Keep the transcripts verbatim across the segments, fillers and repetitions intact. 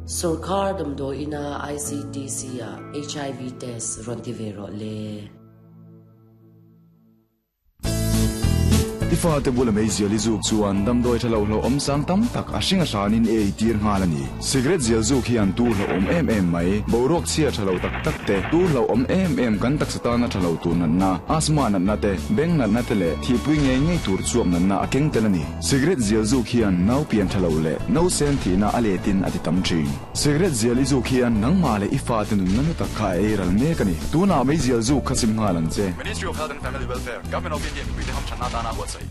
Sarkar damdo ina I C T C a H I V test rontivero le. Ifa te bula mei zial izuk chuan damdoi thalo hlo om sang tam tak a hringa hranin e tir ngalani cigarette zial zuk hian tu hlo om em em mai boruak chhia thalo tak tak te tu hlo om em em kan tak satana thalo tur nan na asma nan na te beng nan na te le thi pui nge nge tur chuak nan na akeng telani cigarette zial zuk hian nau pian thalo le no sen thi na aletin ati tam thin cigarette zial izuk hian nangma le ifa te nun nanu tak kha e ral me kani tuna mei zial zuk khasim ngalan che Ministry of Health and Family Welfare, Government of India, mi te ham chana dana huat sai.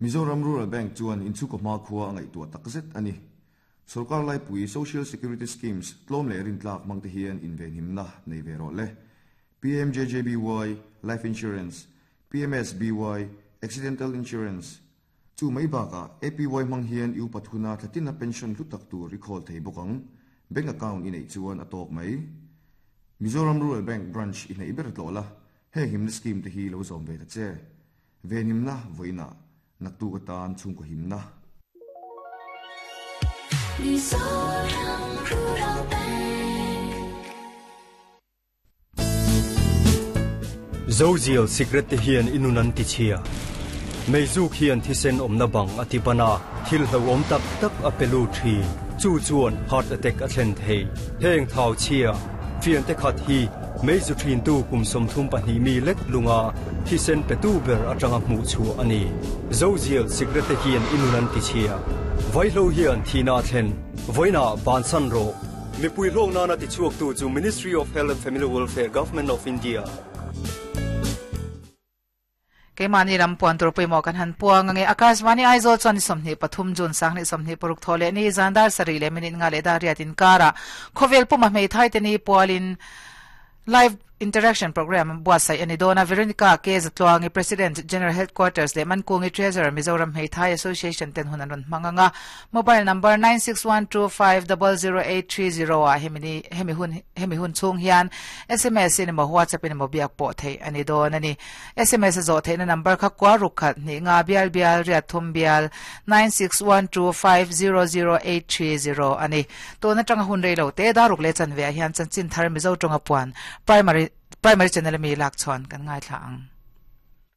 Mizoram Rural Bank chuan inchu ko ma khuwa angai tua takzet ani Sarkar lai pui Social Security Schemes tlom le rin tlak mangte hian inven himna nei ve ro le P M J J B Y Life Insurance, P M S B Y Accidental Insurance chu mai baka A P Y mang hian u pathuna thlatina pension lutak tu recall thei bokang bank account in ei chuan atok mai Mizoram Rural Bank branch in ei ber tlola he himna scheme te hi lo zom ve ta che ve himna voina naktu ka tan chung ko himna Mizoram Rural Bank Zozial secret te hian inunan ti chia Meizuk hian thisen omna bang atibana thil hlo om tak tak apelu thi chu chuan heart attack a thlen thei heng thau chia fian te khat hi meizu thin tu kum som thum pahnih mi lek lunga thisen petu ber atanga hmu chu ani Zozial secret te hian inunan ti chia vaihlo hian thina thlen voina bansan ro mipui hlong na na ti chuak tu chu Ministry of Health and Family Welfare, Government of India. Keimani rampuan tur puimo kan han puang nge Akashvani Aizawl chuan somni pathum jun sangni somni paruk thole ni zandar sari le minute nga le dariatin kara khovel puma mei thai te ni pualin live interaction program buasai ani dona Veronica K Zatluangi President General Headquarters le Mankungi Treasurer Mizoram Hmethai Association ten hunan ron manganga mobile number nine six one two five zero zero eight three zero a hemini hemi hun hemi hun chung hian S M S in mo WhatsApp in mo biak po thei ani don ani S M S zo thei na number kha kwa ruk khat ni nga bial bial ria thum bial nine six one two five zero zero eight three zero ani to na tanga hun reilo te daruk le chan ve hian chan chin thar Mizo tonga puan primary primary channel mi lak chon kan ngai thla ang.